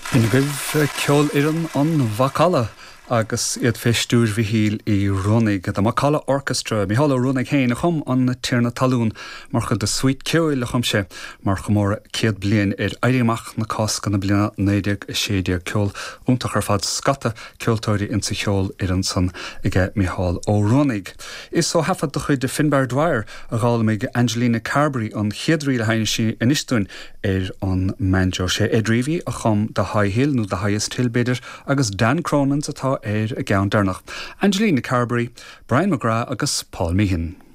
B'in agaibh Ceolfhoireann an Mhacalla agus iad fé stiúir Mhichíl Uí Ruanaigh, The Macalla Orchestra. Mícheál Ó Ruanaigh féin a chum An Tiarna Talún mar chuid de suite ceoil a chum sé mar chomóradh 100 bliain ar Éirí Amach na Cásca na bliana 1916. Ceol iontach ar fad, scata ceoltóirí insa cheolfhoireann san aige Mícheál Ó Ruanaigh. Is ó thaifead de chuid Finbar Dwyer a d'fhoghlaimigh Angelina Carberry an chéad ríl a sheinneas sí anois dúinn ar an mbanjo. Sé Ed Reavy a chum The High Hill, nó The Highest Hill b'fhéidir, agus Dan Cronin's atá ar an gceann deireanach. Angelina Carberry, Brian McGrath agus Paul Meehan.